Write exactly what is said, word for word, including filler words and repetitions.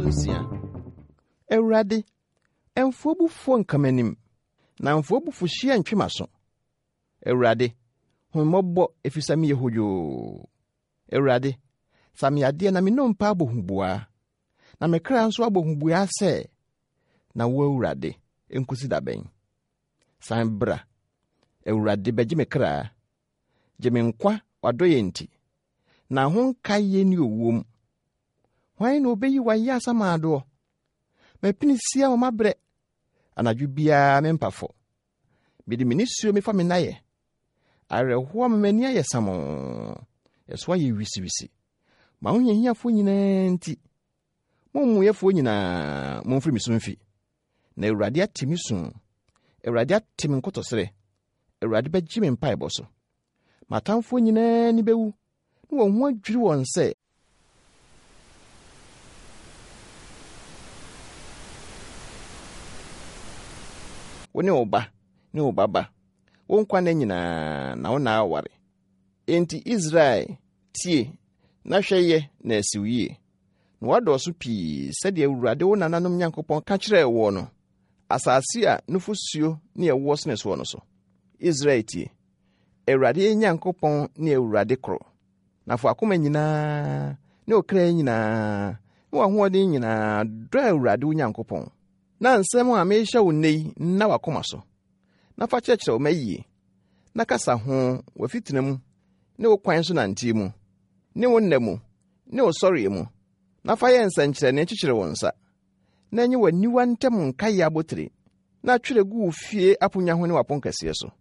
Aduonsia. Awurade, mfa w'abufuo nka m'anim, na mfa w'abufuhyeɛ ntwe m'aso. Awurade, hu me mmɔbɔ efisɛ meyɛ hodwoo. Awurade, sa me yadeɛ na me nnompe abɔ huboa, na me kra nso abɔ huboa sɛ, na wo Awurade, nkosi da bɛn? San bra. Awurade, bɛgye me kra. Gye me nkwa w'adɔeɛ nti, na ho nkaeɛ nni owuo mu. Hwan na obeyi w'ayɛ asamaadoɔ? M'apinisi ama mabrɛ. Anadwo biara mempa fɔ. Mede me nisuo mefa me nayɛ. Awerɛhoɔ ama m'ani ayɛ samoo. Ɛso ayɛ wisiwisi. M'ahohiahiafoɔ nyinaa nti, mo amumuyɛfoɔ nyinaa, momfiri me so mfi. Na Awurade ate me su. Awurade ate me nkotɔsrɛ. Awurade bɛgye me mpaebɔ so. M'atamfoɔ nyinaa ani bɛwu, na wɔn ho adwiri wɔn sɛ wo ne wo ba ne wo ba ba, wo nkwa nna nyinaa na wo na aware. Enti Israel, tie na hwɛ yɛ na asi wo yie. Na woadɔɔso pii sɛdeɛ Awurade wo nananom Nyankopɔn ka kyerɛɛ woɔ no, asase a nufosuo ne ɛwoɔ sene soɔ no so. Israel tie, Awurade yɛn Nyankopɔn ne Awurade koro. Na fa w'akoma nyinaa ne wo kra nyinaa ne w'ahoɔden nyinaa dɔ Awurade wo Nyankopɔn. Na nsɛm a merehyɛ wo nnɛ yi nna w'akoma so. Na fa kyerɛkyerɛ wo mma yie. Na kasa ho w'afitena mu ne wo kwan so nanteɛ mu, ne wo nna mu, ne wo sɔreɛ mu. Na fa yɛ nsɛnkyerɛnne kyekyere wo nsa. Na ɛnyɛ w'aniwa ntam nkaeɛ abotire. Na twerɛ gu wo fie aponnwa ho ne w'aponkɛseɛ so.